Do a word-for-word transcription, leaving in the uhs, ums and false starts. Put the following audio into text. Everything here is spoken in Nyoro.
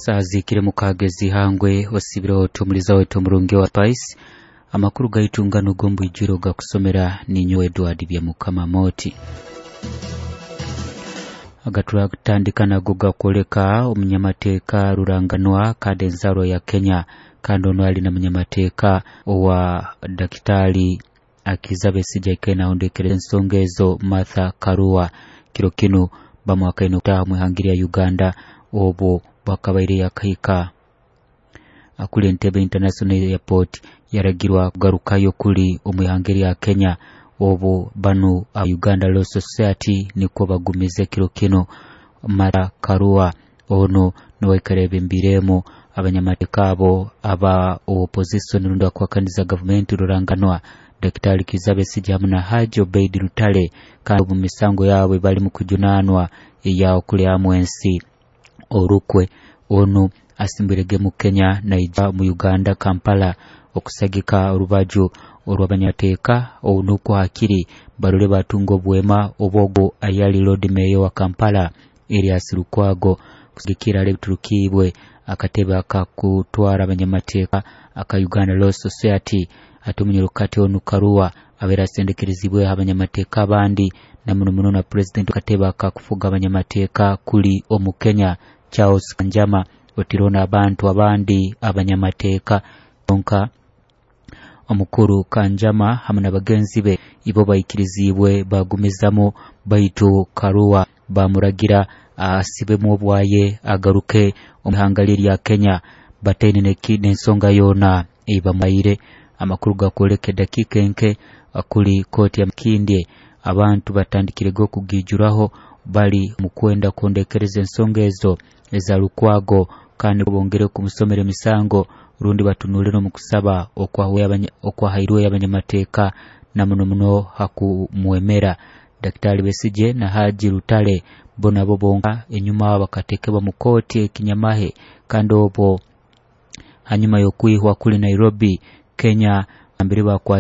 Saaha zihikire mukaaga ez'ihangwe. Osiibire otuumuliza waitu omurungi wa Spice. Amakuru gaitu nganu g'omu gakusomera ninyowe Edward Byamukama Moti. Agaturatandika nago gakwoleka omunyamateeka ruranganwa kandi enzarwa ya Kenya, kandi ono ali na munyamateeka owa Dakitari Kizza Besigye aikaire nahondekereza ensonga ezo, Martha Karua. Kiro kinu bamwakaine okutaaha omu ihanga lya Uganda obwo bwakabaire yakahika kuli Entebbe International Airport, yaragirwa kugarukayo kuli omu ihanga lya Kenya. Obwo banu Uganda Law Society nikwo bagumize kiro kinu Martha Karua ono niwe ebembiremu abanyamateeka abo aba opposition rundi abakuhakaniza gavumenti ruranganwa Daktari Kizza Besigye hamu na Haji Obeid Lutale, kandi omu misango yaabwe bali mu kujunaanwa eya okulyamu ensi orukwe. Onu asimbirege mu Kenya naija mu Uganda Kampala okusagika orubaju orw'abanyamateeka nukwo hakiri barole batunga obwema obwogo ayali Lord Mayor wa Kampala Erias Lukwago kusigikira ebiturukiibwe akatebe akakutwara abanyamateeka aka Uganda Law Society. Ate omunyarukati onu Karua abaire asendekerezibwe abanyamateeka abandi na muno muno na president akatebe akakufuga abanyamateeka kuli omu Kenya Charles Kanjama, otirona abantu abandi abanyamateeka. Kyonka omukuru Kanjama hamu na bagenzi be ibo baikirizibwe bagumizamu, baitu Karua bamuragira asibemu obwaye agaruke omu ihanga lye lya Kenya bataine n'ensonga yoona eibamuhaire. Amakuru gakwoleka edakiika enke kuli kooti ya Makindye abantu batandikirege okugijuraho bali mu kwenda kuhondekereza ensonga ezo eza Lukwago, kandi bongere kumusomera emisango rundi batunulire omu kusaba okwahairwe abanyamateeka na muno muno hakumwemera Daktari Besigye na Haji Lutale. Bo nabo bonka enyuma bakatekebwa mu kooti ekinyamahe, kandi obwo hanyuma y'okwihwa kuli Nairobi Kenya mbere bakwatibwa.